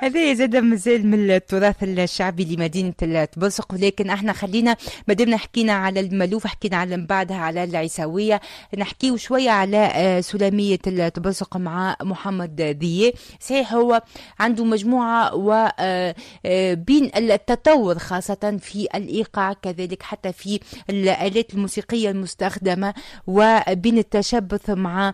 هذا زاد مازال من التراث الشعبي لمدينة التبرسق. ولكن احنا خلينا مادامنا حكينا على المالوف، حكينا على من بعدها على العيساوية، نحكيو شوية على سلامية التبرسق مع محمد ضياء. صحيح هو عنده مجموعة و بين التطور خاصة في الإيقاع، كذلك حتى في الآلات الموسيقية المستخدمة، وبين التشبث مع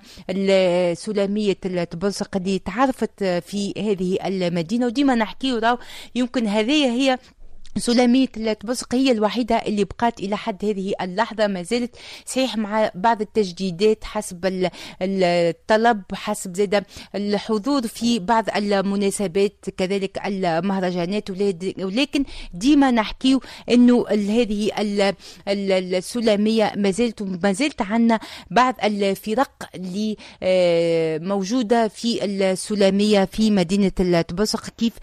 سلامية التبرسق اللي تعرفت في هذه المدينة. وديما نحكيو راهو يمكن هذه هي سلامية التبرسق هي الوحيدة اللي بقات إلى حد هذه اللحظة، ما زالت صحيح مع بعض التجديدات حسب الطلب، حسب زاد الحضور في بعض المناسبات، كذلك المهرجانات، ولكن ديما نحكيو انه هذه السلامية ما زالت عندنا بعض الفرق اللي موجودة في السلامية في مدينة التبرسق، كيف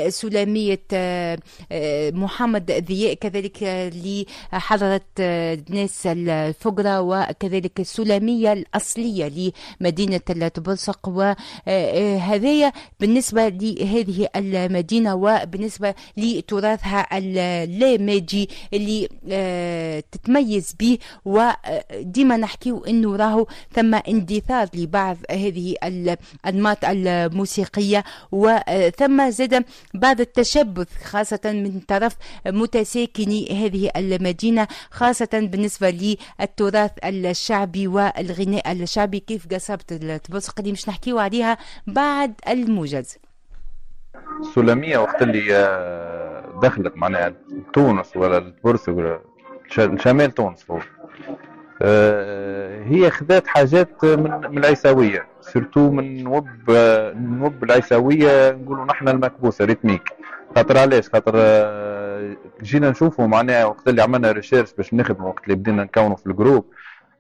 سلامية محمد ضياء، كذلك لحضرة ناس الفقرة، وكذلك السلامية الأصلية لمدينة التبرسق. وهذايا بالنسبة لهذه المدينة وبالنسبة لتراثها اللامادي اللي تتميز به. وديما نحكيو انه راهو ثم اندثار لبعض هذه الانماط الموسيقيه، وثم زاد بعض التشبث خاصة من طرف متساكني هذه المدينة، خاصة بالنسبة للتراث الشعبي والغناء الشعبي، كيف قصبة التبرسق اللي مش نحكيو عليها بعد الموجز. السلمية وقت اللي دخلت معناها تونس ولا التبرسق ولا شمال تونس هو هي خذات حاجات من العيساويه، surtout من نوب العيساويه، نقولوا نحن المكبوسه rythmique. خاطر علاش؟ خاطر جينا نشوفوا معناها وقت اللي عملنا recherche باش نخدموا، وقت اللي بدينا نكونوا في ال groupe،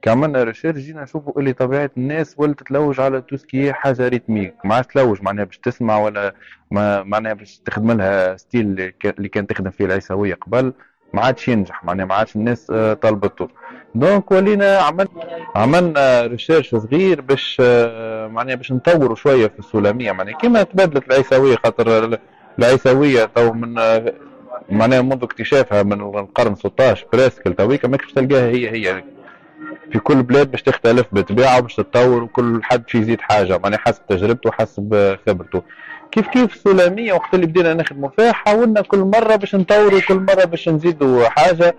كي عملنا recherche جينا نشوفوا اللي طبيعة الناس ولت تلوج على tout ce qui est حاجة rythmique، ما عادش تلوج معناها باش تسمع ولا ما معناها باش تخدم لها style اللي كان تخدم فيه العيساويه قبل، ما عادش ينجح، معناها ما عادش الناس طلبته. donc ولينا عملنا recherche صغير باش معناها باش نطوروا شوية في السلاميه، معناها كيما تبدلت العيساويه، خاطر العيساويه تو من معناها منذ اكتشافها من القرن 16 presque تويكا ماكش تلقاها هي هي في كل بلاد، باش تختلف بالطبيعة وباش تتطور، وكل حد في يزيد حاجة معناها حسب تجربته وحسب خبرته. كيف كيف السلاميه وقت اللي بدينا نخدموا فيها حاولنا كل مرة باش نطوروا، كل مرة باش نزيدوا حاجه.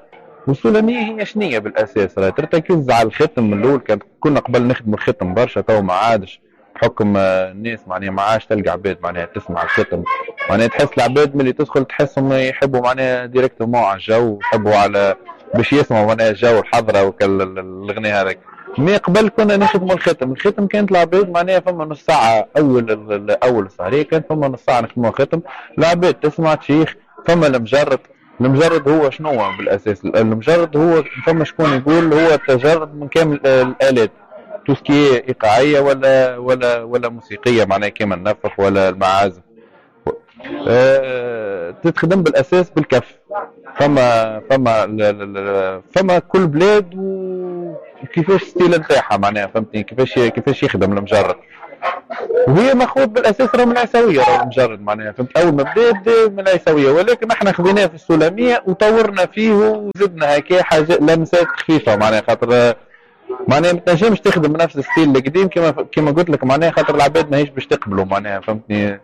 والسلاميه هي شنية بالاساس؟ راهي ترتكز على الختم من الاول. كنا قبل نخدموا الختم برشا، تو ما عادش بحكم الناس معناها ما عادش تلقى عباد معناها تسمع الختم، معناها تحس العباد ملي تدخل تحسهم يحبوا معناها directement على الجو، يحبوا على باش يسمعوا معناها الجو الحضرة وكل الغناء هذاك. mais قبل كنا نخدموا الختم، الختم كانت العباد معناها فما نص ساعة اول السهريه، كانت فما نص ساعة نخدموا الختم، العباد تسمع تشيخ. فما المجرد، المجرد هو شنو بالاساس؟ المجرد هو فما شكون يقول هو التجرد من كامل الالات، tout ce qui est ايقاعيه ولا موسيقيه، معناها كيما النفخ ولا المعازف، تتخدم بالاساس بالكف. فما كل بلاد وكيفاش style نتاعها معناها، فهمتني؟ كيفاش يخدم المجرد، وهي ماخوذ بالاساس راه من العيساويه، راه المجرد معناها فهمت، اول ما بدا من العيساويه، ولكن احنا خذيناه في السلمية وطورنا فيه وزدنا هكا حاجة لمسات خفيفه، معناها خاطر معناها ما تنجمش تخدم نفس ال style القديم كما قلت لك، معناها خاطر العباد ماهيش باش تقبلوا معناها فهمتني،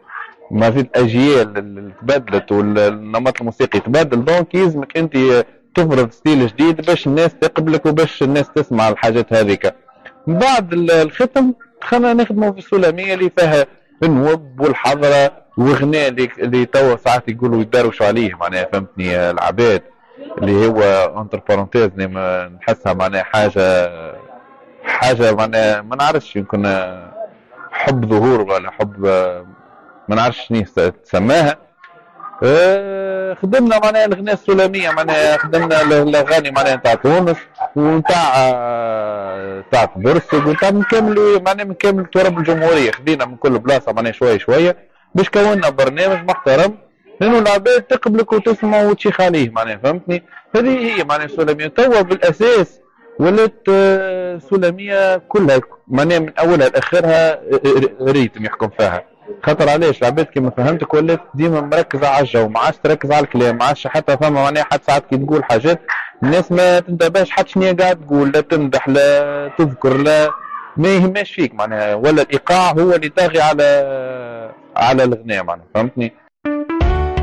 ما في الاجيال اللي تبدلت والنمط الموسيقي تبدل، donc يلزمك انت تفرض style جديد باش الناس تقبلك وباش الناس تسمع الحاجات هذيك. من بعد الختم دخلنا نخدموا في السلمية اللي فيها النوب والحضره وغناء اللي توا ساعات يقولوا يدروشوا عليه معناها فهمتني العباد، اللي هو entre parenthèses نحسها معناها حاجه معناها ما نعرفش، يمكن حب ظهور ولا حب ما نعرفش شنو تسماها. خدمنا معناها الغناء السلمية، معناها خدمنا الاغاني معناها نتاع تونس ونتاع تاع تبرسق ونتاع من كامل معناها من كامل تراب الجمهوريه، خدينا من كل بلاصة معناها شوية شوية باش كونا برنامج محترم، لانه العباد تقبلك وتسمع وتشيخ عليه معناها فهمتني. هذه هي معناها السلمية توا بالاساس ولات سلمية كلها معناها من اولها لاخرها rythme يحكم فيها. خاطر علاش العباد كيما فهمتك ولات ديما مركزه على الجو، ما عادش تركز على الكلام، ما عادش حتى فما معناها حتى ساعات كي تقول حاجات الناس ما تنتبهش حتى شنو قاعد تقول، لا تمدح لا تذكر لا ما يهمش فيك معناها، ولا الايقاع هو اللي طاغي على الغناء معناها، فهمتني؟